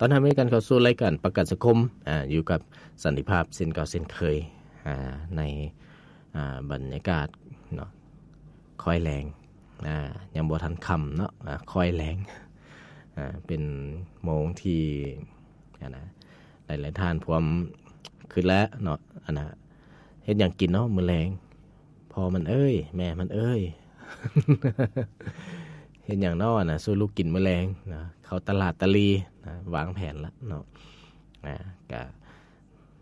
ຕ້ອນຮັບໃຫ້ກັນເຂົ້າສູ່ລາຍການປະກັນສັງຄົມ ອາ ຢູ່ກັບສັນຕິພາບເຊັ່ນເກົ່າເຊັ່ນເຄີຍ ອາ ໃນ ອາ ບັນຍາກາດເນາະ ຄ່ອຍແລງ ອາ ຍັງບໍ່ທັນຄ່ຳເນາະ ອາ ຄ່ອຍແລງ ອາ ເປັນໂມງທີ່ ອັນນະ ຫຼາຍໆທ່ານພວມຄຶດແລ້ວເນາະ ອັນນະ ເຮັດຫຍັງກິນເນາະມື້ແລງ ພໍ່ມັນເອີຍ ແມ່ມັນເອີຍ ເຮັດຫຍັງເນາະນະ ສູ່ລູກກິນມື້ແລງນະ ເຂົ້າຕະຫຼາດຕະຫຼີນະ ວາງແຜນລະເນາະ ອາ ກະ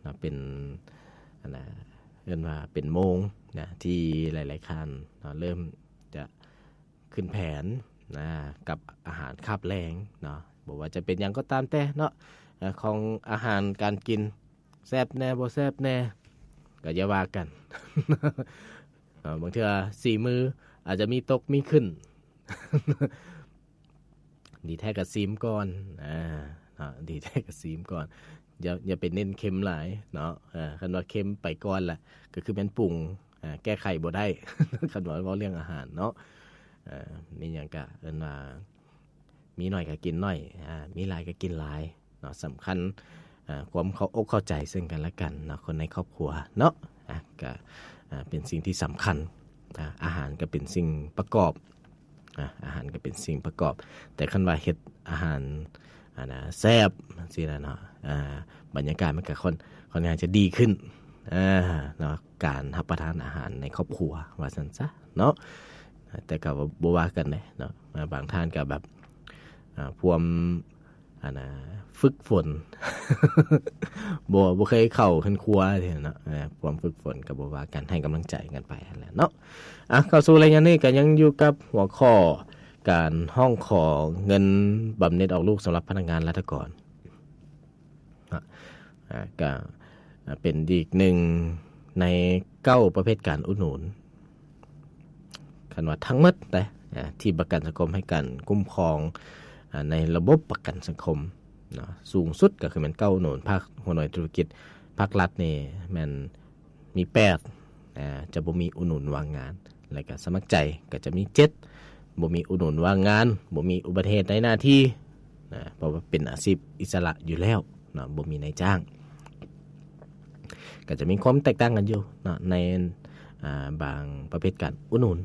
ເນາະ ເປັນ ອັນນະ ເອີ້ນວ່າເປັນໂມງນະ ທີ່ຫຼາຍໆທ່ານເນາະ ເລີ່ມຈະຂຶ້ນແຜນນະ ກັບອາຫານຄາບແລງເນາະ ບໍ່ວ່າຈະເປັນຫຍັງກໍຕາມແຕ່ເນາະ ອາ ຂອງອາຫານການກິນ ແຊບແດ່ບໍ່ແຊບແດ່ ກໍຢ່າວ່າກັນ ເນາະ ບາງເທື່ອສີ່ມື້ອາດຈະມີຕົກມີຂຶ້ນ ດີແທ້ກໍຊີມກ່ອນ ອາ ເນາະ ດີແທ້ກໍຊີມກ່ອນ ຢ່າ ຢ່າໄປເນັ້ນເຄັມຫຼາຍເນາະ ເອີ ຄັນວ່າເຄັມໄປກ່ອນລະ ກໍຄືແມ່ນປຸງ ອາ ແກ້ໄຂບໍ່ໄດ້ ຄັນວ່າເວົ້າເລື່ອງອາຫານເນາະ ເອີ ມີຫຍັງກະເອີ້ນວ່າ ມີໜ້ອຍກໍກິນໜ້ອຍ ອາ ມີຫຼາຍກໍກິນຫຼາຍເນາະ ສຳຄັນ ອາ ຄວາມເຂົ້າອົກເຂົ້າໃຈເຊິ່ງກັນແລະກັນເນາະ ຄົນໃນຄອບຄົວເນາະ ອາ ກໍ ອາ ເປັນສິ່ງທີ່ສຳຄັນ ອາ ອາຫານກໍເປັນສິ່ງປະກອບ ອາ ອາຫານກໍເປັນສິ່ງປະກອບ ແຕ່ຄັນວ່າເຮັດອາຫານ ອັນນະ ແຊບຈັ່ງຊີ້ນະເນາະ ອາ ບັນຍາກາດມັນກໍຄ່ອນ ຄ່ອນຂ້າງຈະດີຂຶ້ນ ອາ ເນາະ ການຮັບປະທານອາຫານໃນຄອບຄົວວ່າຊັ້ນຊະເນາະ ແຕ່ກໍບໍ່ວ່າກັນເດ້ເນາະ ບາງທ່ານກໍແບບ ອາ ພວມ ອັນນະ ຝຶກຝົນ ບໍ່ ບໍ່ເຄີຍເຂົ້າເຮືອນຄົວເນາະ ອາ ພວມຝຶກຝົນກໍບໍ່ວ່າກັນ ໃຫ້ກຳລັງໃຈກັນໄປຫັ້ນແຫຼະເນາະ ອາ ເຂົ້າສູ່ໄລຍະນີ້ກໍຍັງຢູ່ກັບຫົວຂໍ້ການຮ້ອງຂໍເງິນບຳເໜັດອອກລູກສຳລັບພະນັກງານລັດຖະກອນ ເນາະ ອາ ກະເປັນອີກໜຶ່ງໃນເກົ້າປະເພດການອຸດໜູນ ຄັນວ່າທັງໝົດເດ້ ອາ ທີ່ປະກັນສັງຄົມໃຫ້ການຄຸ້ມຄອງ ອາ ໃນລະບົບປະກັນສັງຄົມເນາະ ສູງສຸດກໍຄືແມ່ນເກົ້າອຸດໜູນ ພາກຫົວໜ່ວຍທຸລະກິດ ພາກລັດນີ້ແມ່ນ ມີແປດ ອາ ຈະບໍ່ມີອຸດໜູນວ່າງງານ ແລະກະສະໝັກໃຈກໍຈະມີເຈັດ ບໍ່ມີອຸດໜູນວ່າງງານ ບໍ່ມີອຸບັດຕິເຫດໃນໜ້າທີ່ນະ ເພາະວ່າເປັນອາຊີບອິດສະຫຼະຢູ່ແລ້ວເນາະ ບໍ່ມີນາຍຈ້າງ ກໍຈະມີຄວາມແຕກຕ່າງກັນຢູ່ເນາະ ໃນ ອາ ບາງປະເພດການອຸດໜູນ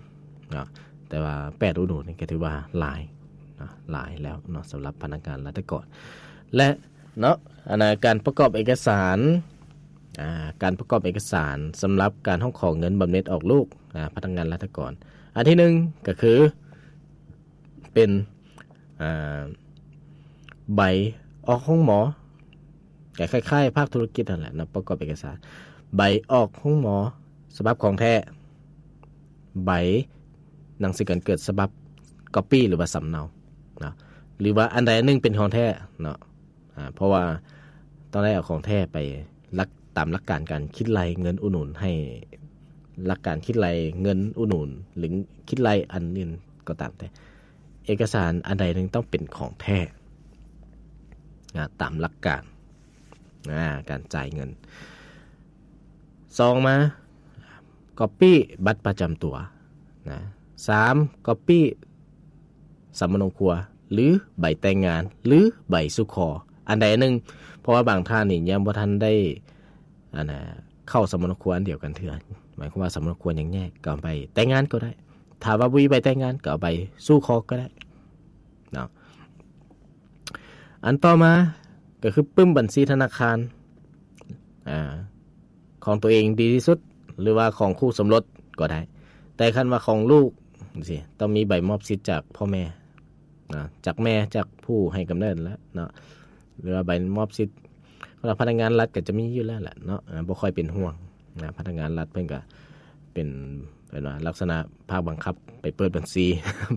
ເນາະ ແຕ່ວ່າແປດອຸດໜູນນີ້ກໍຖືວ່າຫຼາຍເນາະ ຫຼາຍແລ້ວເນາະ ສຳລັບພະນັກງານລັດຖະກອນ ແລະ ເນາະ ອັນນະ ການປະກອບເອກະສານ ອາ ການປະກອບເອກະສານສຳລັບການຮ້ອງຂໍເງິນບຳເໜັດອອກລູກ ອາ ພະນັກງານລັດຖະກອນ ອັນທີໜຶ່ງກໍຄືເປັນ ອາ ໃບອອກໂຮງໝໍ ກໍຄ້າຍໆພາກທຸລະກິດຫັ້ນແຫຼະເນາະ ປະກອບເອກະສານ ໃບອອກໂຮງໝໍສະບັບຂອງແທ້ ໃບໜັງສືການເກີດສະບັບກັອບປີ້ ຫຼືວ່າສຳເນົາເນາະ ຫຼືວ່າອັນໃດອັນໜຶ່ງເປັນຂອງແທ້ເນາະ ອາ ເພາະວ່າຕ້ອງໄດ້ເອົາຂອງແທ້ໄປຫຼັກ ຕາມຫຼັກການການຄິດໄລ່ເງິນອຸດໜູນ ໃຫ້ຫຼັກການຄິດໄລ່ເງິນອຸດໜູນ ຫຼື ຄິດໄລ່ອັນອື່ນກໍຕາມແຕ່ ເອກະສານອັນໃດໜຶ່ງຕ້ອງເປັນຂອງແທ້ ອາ ຕາມຫຼັກການ ອາ ການຈ່າຍເງິນ. ສອງມາ ກັອບປີ້ບັດປະຈຳຕົວນະ. ສາມ ກັອບປີ້ສຳມະໂນຄົວ ຫຼື ໃບແຕ່ງງານ ຫຼື ໃບສູ່ຂໍ ອັນໃດອັນໜຶ່ງ ເພາະວ່າບາງທ່ານນີ້ຍັງບໍ່ທັນໄດ້ ອັນນະ ເຂົ້າສຳມະໂນຄົວອັນດຽວກັນເທື່ອ ໝາຍຄວາມວ່າສຳມະໂນຄົວຍັງແຍກ ກໍເອົາໃບແຕ່ງງານກໍໄດ້ ຖ້າວ່າບໍ່ມີໃບແຕ່ງງານ ກໍເອົາໃບສູ່ຂໍກໍໄດ້ເນາະ. ອັນຕໍ່ມາກໍຄືປຶ້ມບັນຊີທະນາຄານ ອາ ຂອງຕົວເອງດີທີ່ສຸດ ຫຼືວ່າຂອງຄູ່ສົມລົດກໍໄດ້ ແຕ່ຄັນວ່າຂອງລູກຈັ່ງຊີ້ ຕ້ອງມີໃບມອບສິດຈາກພໍ່ແມ່ເນາະ ຈາກແມ່ ຈາກຜູ້ໃຫ້ກຳເນີດແຫຼະເນາະ ຫຼືວ່າໃບມອບສິດ ສຳລັບພະນັກງານລັດກໍຈະມີຢູ່ແລ້ວແຫຼະເນາະ ອາ ບໍ່ຄ່ອຍເປັນຫ່ວງນະ ພະນັກງານລັດເພິ່ນກໍເປັນ ເອີ້ນວ່າລັກສະນະພາກບັງຄັບໄປເປີດບັນຊີ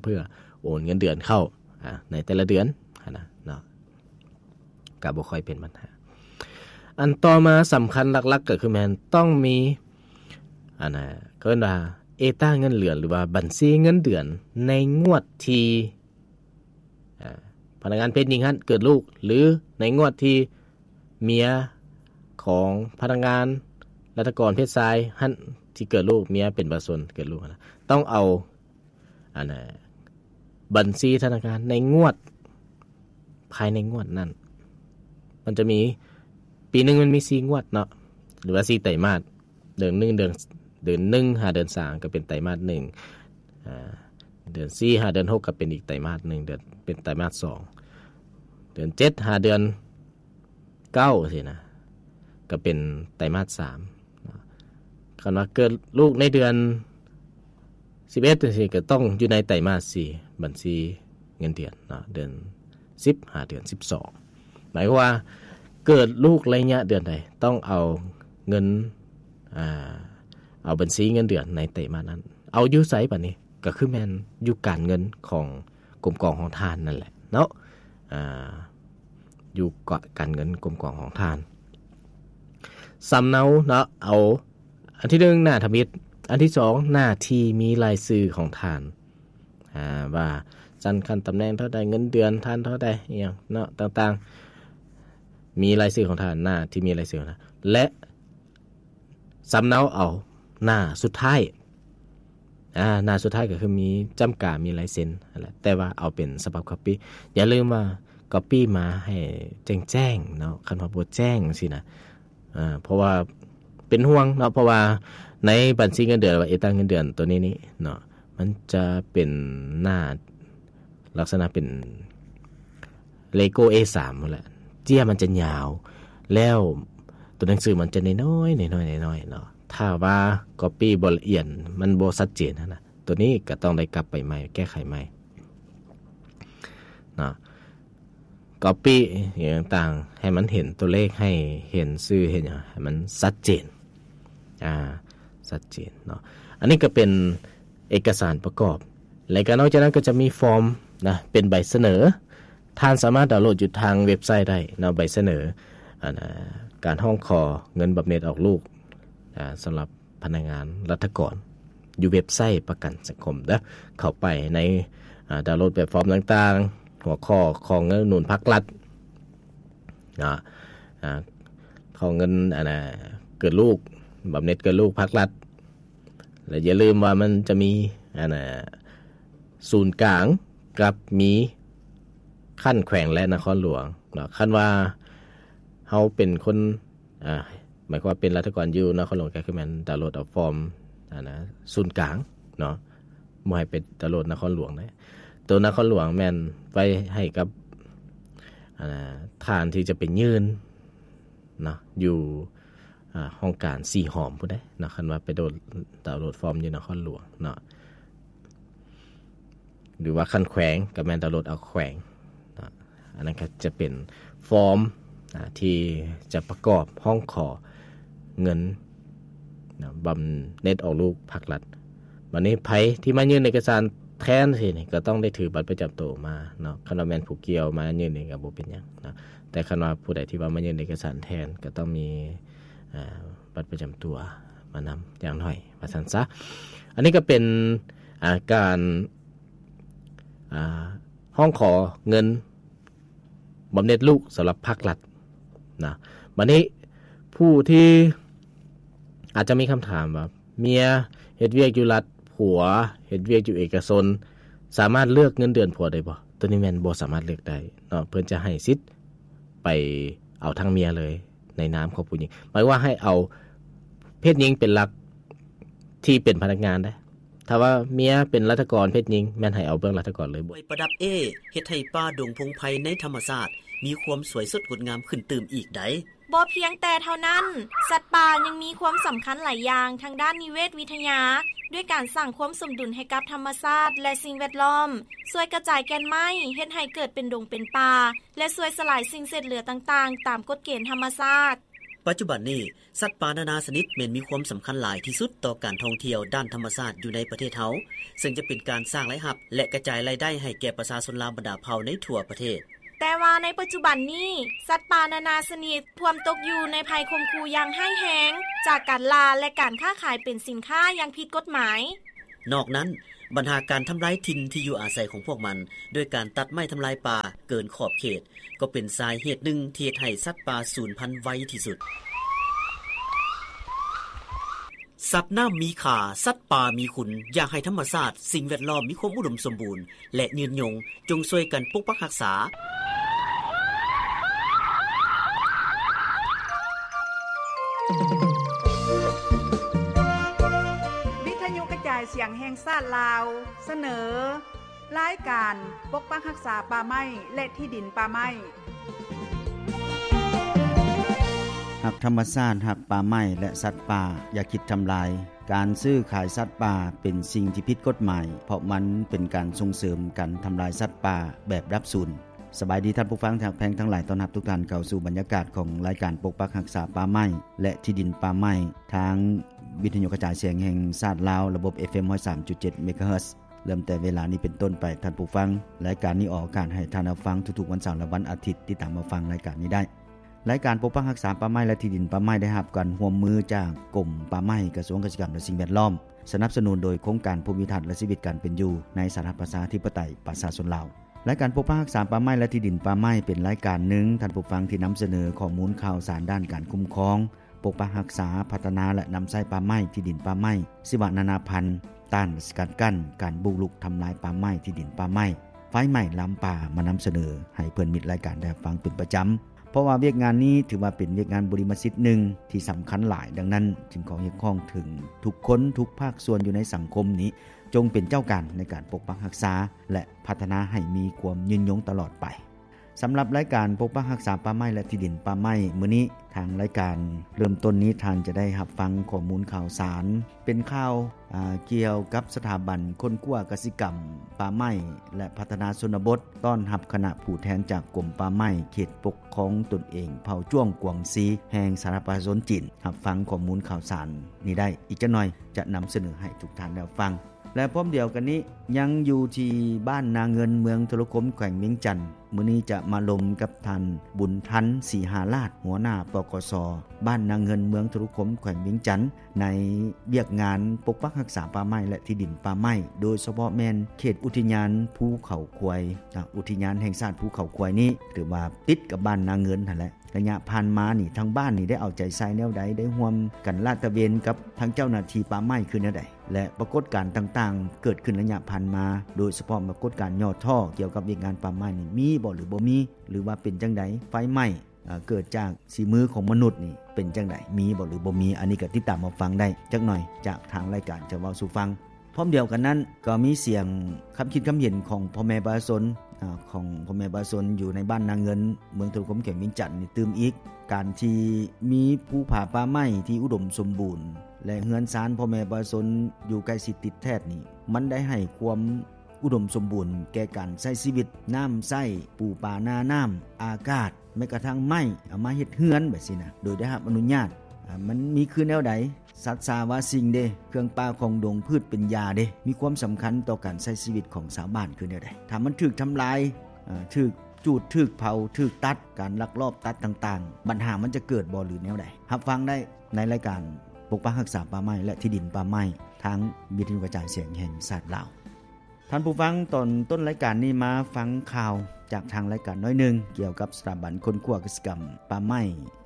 ເພື່ອໂອນເງິນເດືອນເຂົ້າ ອາ ໃນແຕ່ລະເດືອນຫັ້ນນະເນາະ ກໍບໍ່ຄ່ອຍເປັນບັນຫາ. ອັນຕໍ່ມາສຳຄັນຫຼັກໆກໍຄືແມ່ນຕ້ອງມີ ອັນນະ ເຂົາເອີ້ນວ່າເອຕາເງິນເດືອນ ຫຼືວ່າບັນຊີເງິນເດືອນໃນງວດທີ່ ອາ ພະນັກງານເພດຍິງຫັ້ນເກີດລູກ ຫຼື ໃນງວດທີ່ເມຍຂອງພະນັກງານລັດຖະກອນເພດຊາຍຫັ້ນທີ່ເກີດລູກ ເມຍເປັນປະຊາຊົນເກີດລູກຫັ້ນນະ ຕ້ອງເອົາ ອັນນະ ບັນຊີທະນາຄານໃນງວດ ພາຍໃນງວດນັ້ນ ມັນຈະມີ ປີໜຶ່ງມັນມີສີ່ງວດເນາະ ຫຼືວ່າສີ່ໄຕມາດ ເດືອນໜຶ່ງ ເດືອນ ເດືອນໜຶ່ງຫາເດືອນສາມກໍເປັນໄຕມາດໜຶ່ງ ອາ ເດືອນສີ່ຫາເດືອນຫົກກໍເປັນອີກໄຕມາດໜຶ່ງ ເດືອນ ເປັນໄຕມາດສອງ ເດືອນເຈັດຫາເດືອນເກົ້າຊີ້ນະ ກໍເປັນໄຕມາດສາມເນາະ. ຄັນວ່າເກີດລູກໃນເດືອນສິບເອັດຈັ່ງຊີ້ ກໍຕ້ອງຢູ່ໃນໄຕມາດສີ່ ບັນຊີເງິນເດືອນເນາະ ເດືອນສິບຫາເດືອນສິບສອງ ໝາຍຄວາມວ່າເກີດລູກໄລຍະເດືອນໃດ ຕ້ອງເອົາເງິນ ອາ ເອົາບັນຊີເງິນເດືອນໃນໄຕມາດນັ້ນ ເອົາຢູ່ໃສບາດນີ້? ກໍຄືແມ່ນຢູ່ການເງິນຂອງກົມກອງຂອງທ່ານນັ້ນແຫຼະເນາະ ອາ ຢູ່ການເງິນກົມກອງຂອງທ່ານ. ສຳເນົາເນາະ ເອົາອັນທີໜຶ່ງ ໜ້າທຳອິດ, ອັນທີສອງ ໜ້າທີ່ມີລາຍຊື່ຂອງທ່ານ ອາ ວ່າຊັ້ນຂັ້ນຕຳແໜ່ງເທົ່າໃດ, ເງິນເດືອນທ່ານເທົ່າໃດ ອີ່ຫຍັງເນາະ ຕ່າງໆ ມີລາຍຊື່ຂອງທ່ານ ໜ້າທີ່ມີລາຍຊື່ຂອງທ່ານ ແລະ ສຳເນົາເອົາໜ້າສຸດທ້າຍ ອາ ໜ້າສຸດທ້າຍກໍຄືມີຈ້ຳກາ ມີລາຍເຊັນຫັ້ນແຫຼະ ແຕ່ວ່າເອົາເປັນສະບັບກັອບປີ້ ຢ່າລືມວ່າກັອບປີ້ມາໃຫ້ແຈ້ງໆເນາະ ຄັນວ່າບໍ່ແຈ້ງຈັ່ງຊີ້ນະ ອາ ເພາະວ່າເປັນຫ່ວງເນາະ ເພາະວ່າໃນບັນຊີເງິນເດືອນ ຫຼືວ່າເອກສານເງິນເດືອນໂຕນີ້ນີ້ເນາະ ມັນຈະເປັນໜ້າ ລັກສະນະເປັນເລໂກ້ ເອສາມ ພຸ້ນແຫຼະ ເຈ້ຍມັນຈະຍາວ ແລ້ວຕົວໜັງສືມັນຈະນ້ອຍໆ ນ້ອຍໆ ນ້ອຍໆເນາະ. ຖ້າວ່າກັອບປີ້ບໍ່ລະອຽດ ມັນບໍ່ຊັດເຈນຫັ້ນນະ ຕົວນີ້ກໍຕ້ອງໄດ້ກັບໄປໃໝ່ ແກ້ໄຂໃໝ່ເນາະ. ກັອບປີ້ຫຍັງຕ່າງໆ ໃຫ້ມັນເຫັນຕົວເລກ ໃຫ້ເຫັນຊື່ ເຫັນຫຍັງ ໃຫ້ມັນຊັດເຈນ ອາ ຊັດເຈນເນາະ. ອັນນີ້ກໍເປັນເອກະສານປະກອບ ແລະ ກໍນອກຈາກນັ້ນກໍຈະມີຟອມນະ ເປັນໃບສະເໜີ ທ່ານສາມາດດາວໂຫຼດຢູ່ທາງເວັບໄຊໄດ້ເນາະ ໃບສະເໜີ ອັນ ອາ ການຮ້ອງຂໍເງິນບຳເໜັດອອກລູກ ອາ ສຳລັບ ພະນັກງານລັດຖະກອນ ຢູ່ເວັບໄຊປະກັນສັງຄົມເດີ ເຂົ້າໄປໃນ ອາ ດາວໂຫຼດແບບຟອມຕ່າງໆ ຫົວຂໍ້ ຂໍເງິນອຸດໜູນພັກລັດ ເນາະ ອາ ຂໍເງິນ ອັນນ່າ ເກີດລູກ ບຳເໜັດເກີດລູກພັກລັດ ແລະ ຢ່າລືມວ່າມັນຈະມີ ອັນນ່າ ສູນກາງກັບມີຂັ້ນແຂວງ ແລະ ນະຄອນຫຼວງເນາະ. ຄັນວ່າເຮົາເປັນຄົນ ອາ ໝາຍຄວາມວ່າເປັນລັດຖະກອນຢູ່ນະຄອນຫຼວງ ກໍຄືແມ່ນດາວໂຫຼດເອົາຟອມ ອັນນ່າ ສູນກາງເນາະ ບໍ່ໃຫ້ໄປດາວໂຫຼດນະຄອນຫຼວງເດ້. ໂຕນະຄອນຫຼວງແມ່ນໄວ້ໃຫ້ກັບ ອັນນ່າ ທ່ານທີ່ຈະໄປຍື່ນເນາະ ຢູ່ ອາ ຫ້ອງການສີ່ຫ້ອມພຸ້ນເດ້ເນາະ ຄັນວ່າໄປໂດນ ດາວໂຫຼດຟອມຢູ່ນະຄອນຫຼວງເນາະ. ຫຼືວ່າຂັ້ນແຂວງກໍແມ່ນດາວໂຫຼດເອົາແຂວງເນາະ. ອັນນັ້ນກໍຈະເປັນຟອມ ອາ ທີ່ຈະປະກອບຮ້ອງຂໍເງິນນະ ບຳເໜັດອອກລູກພັກລັດ. ບັດນີ້ໃຜທີ່ມາຍື່ນເອກະສານແທນຊີ້ນີ້ ກໍຕ້ອງໄດ້ຖືບັດປະຈຳໂຕມາເນາະ. ຄັນວ່າແມ່ນຜູ້ກ່ຽວມາຍື່ນນີ້ກໍບໍ່ເປັນຫຍັງເນາະ ແຕ່ຄັນວ່າຜູ້ໃດທີ່ວ່າມາຍື່ນເອກະສານແທນ ກໍຕ້ອງມີ ອາ ບັດປະຈຳຕົວມານຳຢ່າງໜ້ອຍ ວ່າຊັ້ນຊະ. ອັນນີ້ກໍເປັນ ອາ ການ ອາ ຮ້ອງຂໍເງິນບຳເໜັດລູກສຳລັບພັກລັດນະ. ບັດນີ້ຜູ້ທີ່ອາດຈະມີຄຳຖາມວ່າ ເມຍເຮັດວຽກຢູ່ລັດ ຜົວເຮັດວຽກຢູ່ເອກະຊົນ ສາມາດເລືອກເງິນເດືອນຜົວໄດ້ບໍ່? ໂຕນີ້ແມ່ນບໍ່ສາມາດເລືອກໄດ້ເນາະ ເພິ່ນຈະໃຫ້ສິດໄປເອົາທາງເມຍເລີຍ ໃນນາມຂອງຜູ້ຍິງ ໝາຍວ່າໃຫ້ເອົາເພດຍິງເປັນຫຼັກ ທີ່ເປັນພະນັກງານເດ້. ຖ້າວ່າເມຍເປັນລັດຖະກອນເພດຍິງ ແມ່ນໃຫ້ເອົາເບື້ອງລັດຖະກອນເລີຍ. ໄປປະດັບເອ້ ເຮັດໃຫ້ປ່າດົງພົງໄພໃນທຳມະຊາດມີຄວາມສວຍສົດງົດງາມຂຶ້ນຕື່ມອີກໃດ. ບໍ່ພຽງແຕ່ເທົ່ານັ້ນ, ສັດປ່າຍັງມີຄວາມສຳຄັນຫຼາຍຢ່າງທາງດ້ານນິເວດວິທະຍາ, ດ້ວຍການສ້າງຄວາມສົມດຸນໃຫ້ກັບທຳມະຊາດ ແລະ ສິ່ງແວດລ້ອມ, ຊ່ວຍກະຈາຍແກ່ນໄມ້, ເຮັດໃຫ້ເກີດເປັນດົງເປັນປ່າ ແລະ ຊ່ວຍສະຫຼາຍສິ່ງເສດເຫຼືອຕ່າງໆ ຕາມກົດເກນທຳມະຊາດ. ປັດຈຸບັນນີ້, ສັດປ່ານານາຊະນິດແມ່ນມີຄວາມສຳຄັນຫຼາຍທີ່ສຸດຕໍ່ການທ່ອງທ່ຽວດ້ານທຳມະຊາດຢູ່ໃນປະເທດເຮົາ, ເຊິ່ງຈະເປັນການສ້າງລາຍຮັບ ແລະ ກະຈາຍລາຍໄດ້ໃຫ້ແກ່ປະຊາຊົນລາວບັນດາເຜົ່າໃນທົ່ວປະເທດ. ແຕ່ວ່າໃນປັດຈຸບັນນີ້, ສັດປ່ານານາຊະນິດພວມຕົກຢູ່ໃນໄພຂົ່ມຂູ່ຢ່າງຮ້າຍແຮງ ຈາກການລ່າ ແລະ ການຄ້າຂາຍເປັນສິນຄ້າຢ່າງຜິດກົດໝາຍ. ນອກນັ້ນ, ບັນຫາການທຳລາຍຖິ່ນທີ່ຢູ່ອາໄສຂອງພວກມັນ ໂດຍການຕັດໄມ້ທຳລາຍປ່າເກີນຂອບເຂດ ກໍເປັນສາເຫດໜຶ່ງທີ່ເຮັດໃຫ້ສັດປ່າສູນພັນໄວທີ່ສຸດ. ສັດນ້ຳມີຄ່າ, ສັດປ່າມີຄຸນ, ຢາກໃຫ້ທຳມະຊາດ, ສິ່ງແວດລ້ອມມີຄວາມອຸດົມສົມບູນ ແລະ ຍືນຍົງ, ຈົ່ງຊ່ວຍກັນປົກປັກຮັກສາ. ວິທະຍຸກະຈາຍສຽງແຫ່ງຊາດລາວ ສະເໜີ ລາຍການປົກປັກຮັກສາປ່າໄມ້ ແລະ ທີ່ດິນປ່າໄມ້. ຮັກທຳມະຊາດ, ຮັກປ່າໄມ້ ແລະ ສັດປ່າ, ຢ່າຄິດທຳລາຍ. ການຊື້ຂາຍສັດປ່າເປັນສິ່ງທີ່ຜິດກົດໝາຍ, ເພາະມັນເປັນການສົ່ງເສີມການທຳລາຍສັດປ່າແບບດັບສູນ. ສະບາຍດີທ່ານຜູ້ຟັງທີ່ຮັກແພງທັງຫຼາຍ, ຕ້ອນຮັບທຸກທ່ານເຂົ້າສູ່ບັນຍາກາດຂອງລາຍການປົກປັກຮັກສາປ່າໄມ້ ແລະ ທີ່ດິນປ່າໄມ້ ທາງວິທະຍຸກະຈາຍສຽງແຫ່ງຊາດລາວ ລະບົບ ເອັຟເອັມ ຮ້ອຍສາມຈຸດເຈັດ ເມກາເຮີດ. ເລີ່ມແຕ່ເວລານີ້ເປັນຕົ້ນໄປ, ທ່ານຜູ້ຟັງ, ລາຍການນີ້ອອກອາກາດໃຫ້ທ່ານຮັບຟັງທຸກໆວັນເສົາ ແລະ ວັນອາທິດ. ຕິດຕາມຮັບຟັງລາຍການນີ້ໄດ້. ລາຍການປົກປັກຮັກສາປ່າໄມ້ ແລະ ທີ່ດິນປ່າໄມ້ ໄດ້ຮັບການຮ່ວມມືຈາກກົມປ່າໄມ້, ກະຊວງກະສິກຳ ແລະ ສິ່ງແວດລ້ອມ, ສະໜັບສະໜູນໂດຍໂຄງການພູມພິທັດ ແລະ ຊີວິດການເປັນຢູ່ໃນສາທາລະນະລັດປະຊາທິປະໄຕປະຊາຊົນລາວ. ລາຍການປົກປັກຮັກສາປ່າໄມ້ ແລະ ທີ່ດິນປ່າໄມ້ ເປັນລາຍການໜຶ່ງ, ທ່ານຜູ້ຟັງ, ທີ່ນຳສະເໜີຂໍ້ມູນຂ່າວສານດ້ານການຄຸ້ມຄອງ, ປົກປັກຮັກສາ, ພັດທະນາ ແລະ ນຳໃຊ້ປ່າໄມ້, ທີ່ດິນປ່າໄມ້, ຊີວະນານາພັນ, ຕ້ານ ແລະ ສະກັດກັ້ນການບຸກລຸກທຳລາຍປ່າໄມ້, ທີ່ດິນປ່າໄມ້, ໄຟໄໝ້ລາມປ່າ ມານຳສະເໜີໃຫ້ເພື່ອນມິດລາຍການໄດ້ຮັບຟັງເປັນປະຈຳ, ເພາະວ່າວຽກງານນີ້ຖືວ່າເປັນວຽກງານບຸລິມະສິດໜຶ່ງທີ່ສຳຄັນຫຼາຍ. ດັ່ງນັ້ນ, ຈຶ່ງຂໍຮຽກຮ້ອງເຖິງທຸກຄົນ, ທຸກພາກສ່ວນຢູ່ໃນສັງຄົມນີ້, ຈົ່ງເປັນເຈົ້າການໃນການປົກປັກຮັກສາ ແລະ ພັດທະນາໃຫ້ມີຄວາມຍືນຍົງຕະຫຼອດໄປ. ສຳລັບລາຍການປົກປັກຮັກສາປ່າໄມ້ ແລະ ທີ່ດິນປ່າໄມ້ມື້ນີ້, ທາງລາຍການເລີ່ມຕົ້ນນີ້ ທ່ານຈະໄດ້ຮັບຟັງຂໍ້ມູນຂ່າວສານ ເປັນຂ່າວ, ອາ, ກ່ຽວກັບສະຖາບັນຄົ້ນຄວ້າກະສິກຳ, ປ່າໄມ້ ແລະ ພັດທະນາຊົນນະບົດ ຕ້ອນຮັບຄະນະຜູ້ແທນຈາກກົມປ່າໄມ້ ເຂດປົກຄອງຕົນເອງເຜົ່າຈ້ວງກວາງຊີ ແຫ່ງສາທາລະນະລັດປະຊາຊົນຈີນ. ຮັບຟັງຂໍ້ມູນຂ່າວສານນີ້ໄດ້, ອີກຈັກໜ່ອຍຈະນຳສະເໜີໃຫ້ທຸກທ່ານໄດ້ຮັບຟັງ. ແລະ ພ້ອມດຽວກັນນີ້, ຍັງຢູ່ທີ່ບ້ານນາເງິນ ເມືອງທຸລະຄົມ ແຂວງວຽງຈັນ, ມື້ນີ້ຈະມາລົມກັບທ່ານ ບຸນທັນ ສີຫາລາດ, ຫົວໜ້າ ປກສ ບ້ານນາເງິນ ເມືອງທຸລະຄົມ ແຂວງວຽງຈັນ, ໃນວຽກງານປົກປັກຮັກສາປ່າໄມ້ ແລະ ທີ່ດິນປ່າໄມ້, ໂດຍສະເພາະແມ່ນເຂດອຸທິຍານພູເຂົາຄວາຍ, ອາ, ອຸທິຍານແຫ່ງຊາດພູເຂົາຄວາຍນີ້ ຖືວ່າຕິດກັບບ້ານນາເງິນຫັ້ນແຫຼະ. ໄລຍະຜ່ານມານີ້ ທາງບ້ານນີ້ໄດ້ເອົາໃຈໃສ່ແນວໃດ, ໄດ້ຮ່ວມກັນລາດຕະເວນກັບທາງເຈົ້າໜ້າທີ່ປ່າໄມ້ຄືແນວໃດ ແລະ ປາກົດການຕ່າງໆເກີດຂຶ້ນໄລຍະຜ່ານມາ, ໂດຍສະເພາະປາກົດການຫຍໍ້ທໍ້ກ່ຽວກັບວຽກງານປ່າໄມ້ນີ້ ມີບໍ່ ຫຼື ບໍ່ມີ ຫຼືວ່າເປັນຈັ່ງໃດ? ໄຟໄໝ້, ເອີ, ເກີດຈາກສີມືຂອງມະນຸດນີ້ເປັນຈັ່ງໃດ? ມີບໍ່ ຫຼື ບໍ່ມີ? ອັນນີ້ກໍຕິດຕາມມາຟັງໄດ້ຈັກໜ່ອຍ, ຈາກທາງລາຍການຈະເວົ້າສູ່ຟັງ. ພ້ອມດຽວກັນນັ້ນ ກໍມີສຽງຄຳຄິດຄຳເຫັນຂອງພໍ່ແມ່ປະຊາຊົນ, ອາ, ຂອງພໍ່ແມ່ປະຊາຊົນຢູ່ໃນບ້ານນາເງິນ ເມືອງທຸລະຄົມ ແຂວງວຽງຈັນນີ້ຕື່ມອີກ. ການທີ່ມີພູຜາປ່າໄມ້ທີ່ອຸດົມສົມບູນ ແລະ ເຮືອນຊານພໍ່ແມ່ປະຊາຊົນຢູ່ໃກ້ຊິດຕິດແທດນີ້ ມັນໄດ້ໃຫ້ຄວາມອຸດົມສົມບູນແກ່ການໃຊ້ຊີວິດ, ນ້ຳໃຊ້, ປູປານານ້ຳ, ອາກາດ, ແມ້ກະທັ່ງໄມ້ເອົາມາເຮັດເຮືອນແບບຊີ້ນະ ໂດຍໄດ້ຮັບອະນຸຍາດ, ອາ, ມັນມີຄືແນວໃດ? ສັດສາວາສິ່ງເດ, ເຄື່ອງປ່າຂອງດົງ, ພືດເປັນຢາເດ, ມີຄວາມສຳຄັນຕໍ່ການໃຊ້ຊີວິດຂອງຊາວບ້ານຄືແນວໃດ? ຖ້າມັນຖືກທຳລາຍ, ເອີ, ຖືກຈູດ, ຖືກເຜົາ, ຖືກຕັດ, ການລັກລອບຕັດຕ່າງໆ, ບັນຫາມັນຈະເກີດບໍ່ ຫຼື ແນວໃດ? ຮັບຟັງໄດ້ໃນລາຍການປົກປັກຮັກສາປ່າໄມ້ ແລະ ທີ່ດິນປ່າໄມ້ ທາງວິທະຍຸກະຈາຍສຽງແຫ່ງຊາດລາວ. ທ່ານຜູ້ຟັງ, ຕອນຕົ້ນລາຍການນີ້ມາຟັງຂ່າວຈາກທາງລາຍການໜ້ອຍໜຶ່ງ ກ່ຽວກັບສະຖາບັນຄົ້ນຄວ້າກະສິກຳ, ປ່າໄມ້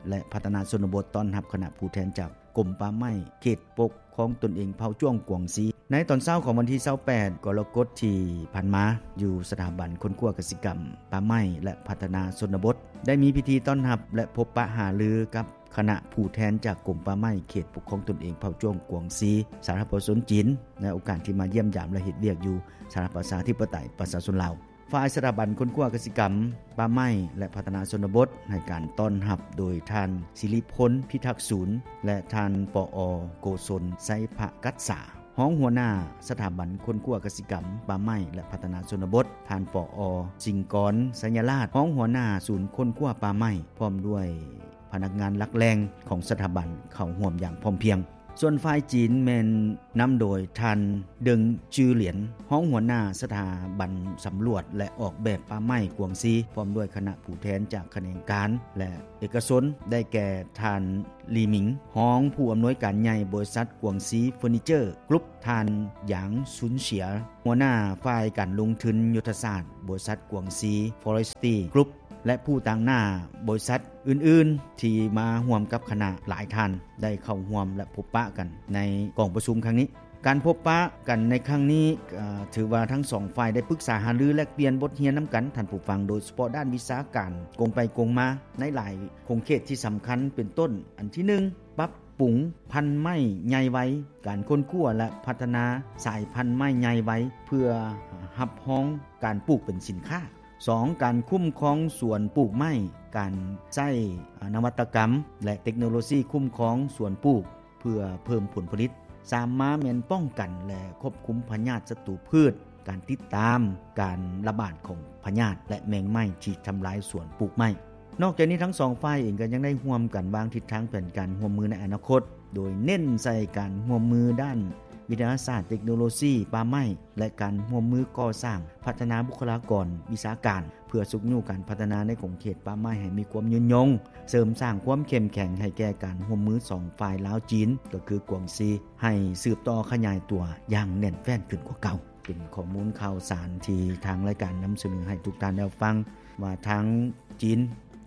ແລະ ພັດທະນາຊົນນະບົດ ຕ້ອນຮັບຄະນະຜູ້ແທນຈາກກົມປ່າໄມ້ ເຂດປົກຄອງຕົນເອງເຜົ່າຈ້ວງກວາງຊີ. ໃນຕອນເຊົ້າຂອງວັນທີຊາວແປດ ກໍລະກົດທີ່ຜ່ານມາ, ຢູ່ສະຖາບັນຄົ້ນຄວ້າກະສິກຳ, ປ່າໄມ້ ແລະ ພັດທະນາຊົນນະບົດ ໄດ້ມີພິທີຕ້ອນຮັບ ແລະ ພົບປະຫາລືກັບ ຄະນະຜູ້ແທນຈາກກົມປ່າໄມ້ເຂດປົກຄອງຕົນເອງເຜົ່າຈ້ວງກວາງຊີ ສາທາລະນະລັດປະຊາຊົນຈີນ ໃນໂອກາດທີ່ມາຢ້ຽມຢາມ ແລະ ເຮັດວຽກຢູ່ສາທາລະນະລັດປະຊາທິປະໄຕປະຊາຊົນລາວ. ຝ່າຍສະຖາບັນຄົ້ນຄວ້າກະສິກຳ, ປ່າໄມ້ ແລະ ພັດທະນາຊົນນະບົດ ໃຫ້ການຕ້ອນຮັບໂດຍທ່ານ ສິລິພົນ ພິທັກສູນ ແລະ ທ່ານ ປອ ໂກສົນ ໄຊພະກັດສາ ຮອງຫົວໜ້າສະຖາບັນຄົ້ນຄວ້າກະສິກຳ, ປ່າໄມ້ ແລະ ພັດທະນາຊົນນະບົດ, ທ່ານ ປອ ສິງກອນ ໄຊຍະລາດ ຮອງຫົວໜ້າສູນຄົ້ນຄວ້າປ່າໄມ້ ພ້ອມດ້ວຍ ພະນັກງານຫຼັກແຫຼ່ງຂອງສະຖາບັນເຂົ້າຮ່ວມຢ່າງພ້ອມພຽງ. ສ່ວນຝ່າຍຈີນແມ່ນນຳໂດຍທ່ານ ເດິງ ຈື່ຫຼຽນ ຮອງຫົວໜ້າສະຖາບັນສຳຫຼວດ ແລະ ອອກແບບປ່າໄມ້ກວາງຊີ ພ້ອມດ້ວຍຄະນະຜູ້ແທນຈາກຂະແໜງການ ແລະ ເອກະຊົນ ໄດ້ແກ່ ທ່ານ ລີ ໝິງ ຮອງຜູ້ອຳນວຍການໃຫຍ່ບໍລິສັດກວາງຊີເຟີນີເຈີກຣຸບ, ທ່ານ ຢາງ ຊຸນເສຍ ຫົວໜ້າຝ່າຍການລົງທຶນຍຸດທະສາດບໍລິສັດກວາງຊີຟໍເຣສຕີກຣຸບ ແລະ ຜູ້ຕາງໜ້າບໍລິສັດອື່ນໆ ທີ່ມາຮ່ວມກັບຄະນະຫຼາຍທ່ານ ໄດ້ເຂົ້າຮ່ວມ ແລະ ພົບປະກັນໃນກອງປະຊຸມຄັ້ງນີ້. ການພົບປະກັນໃນຄັ້ງນີ້ ເອີ ຖືວ່າທັງສອງຝ່າຍໄດ້ປຶກສາຫາລືແລກປ່ຽນບົດຮຽນນຳກັນ ທ່ານຜູ້ຟັງ, ໂດຍສະເພາະດ້ານວິຊາການກົງໄປກົງມາໃນຫຼາຍຂົງເຂດທີ່ສຳຄັນ ເປັນຕົ້ນ ອັນທີໜຶ່ງ ປັບປຸງພັນໄມ້ໃຫຍ່ໄວ, ການຄົ້ນຄວ້າ ແລະ ພັດທະນາສາຍພັນໄມ້ໃຫຍ່ໄວ ເພື່ອຮັບຮອງການປູກເປັນສິນຄ້າ. ສອງ ການຄຸ້ມຄອງສວນປູກໄມ້, ການໃຊ້ນະວັດຕະກຳ ແລະ ເຕັກໂນໂລຊີຄຸ້ມຄອງສວນປູກ ເພື່ອເພີ່ມຜົນຜະລິດ. ສາມ ມາແມ່ນປ້ອງກັນ ແລະ ຄວບຄຸມພະຍາດສັດຕູພືດ, ການຕິດຕາມການລະບາດຂອງພະຍາດ ແລະ ແມງໄມ້ທີ່ທຳລາຍສວນປູກໄມ້. ນອກຈາກນີ້ ທັງສອງຝ່າຍເອງກໍຍັງໄດ້ຮ່ວມກັນວາງທິດທາງແຜນການຮ່ວມມືໃນອະນາຄົດ, ໂດຍເນັ້ນໃສ່ການຮ່ວມມືດ້ານວິທະຍາສາດ, ເຕັກໂນໂລຊີ, ປ່າໄມ້ ແລະ ການຮ່ວມມືກໍ່ສ້າງ, ພັດທະນາບຸກຄະລາກອນ, ວິຊາການ ເພື່ອຊຸກຍູ້ການພັດທະນາໃນຂົງເຂດປ່າໄມ້ໃຫ້ມີຄວາມຍືນຍົງ, ເສີມສ້າງຄວາມເຂັ້ມແຂງໃຫ້ແກ່ການຮ່ວມມືສອງຝ່າຍລາວ-ຈີນ ກໍຄືກວາງຊີ ໃຫ້ສືບຕໍ່ຂະຫຍາຍຕົວຢ່າງແໜ້ນແຟ້ນຂຶ້ນກວ່າເກົ່າ. ເປັນຂໍ້ມູນຂ່າວສານທີ່ທາງລາຍການນຳສະເໜີໃຫ້ທຸກທ່ານໄດ້ຮັບຟັງ ວ່າທາງຈີນ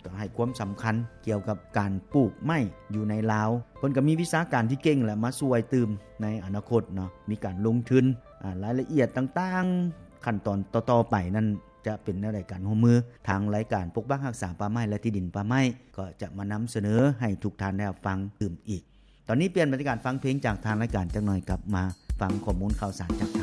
ກໍໃຫ້ຄວາມສຳຄັນກ່ຽວກັບການປູກໄມ້ຢູ່ໃນລາວ. ເພິ່ນກໍມີວິຊາການທີ່ເກັ່ງ ແລະ ມາຊ່ວຍຕື່ມໃນອະນາຄົດເນາະ, ມີການລົງທຶນ, ອາ, ລາຍລະອຽດຕ່າງໆ, ຂັ້ນຕອນຕໍ່ໆໄປນັ້ນຈະເປັນແນວໃດການຮ່ວມມື. ທາງລາຍການປົກປັກຮັກສາປ່າໄມ້ ແລະ ທີ່ດິນປ່າໄມ້ ກໍຈະມານຳສະເໜີໃຫ້ທຸກທ່ານໄດ້ຮັບຟັງຕື່ມອີກ. ຕອນນີ້ປ່ຽນບັນຍາກາດຟັງເພງຈາກທາງລາຍການຈັກໜ່ອຍ, ກັບມາຟັງຂໍ້ມູນຂ່າວສານຈາກ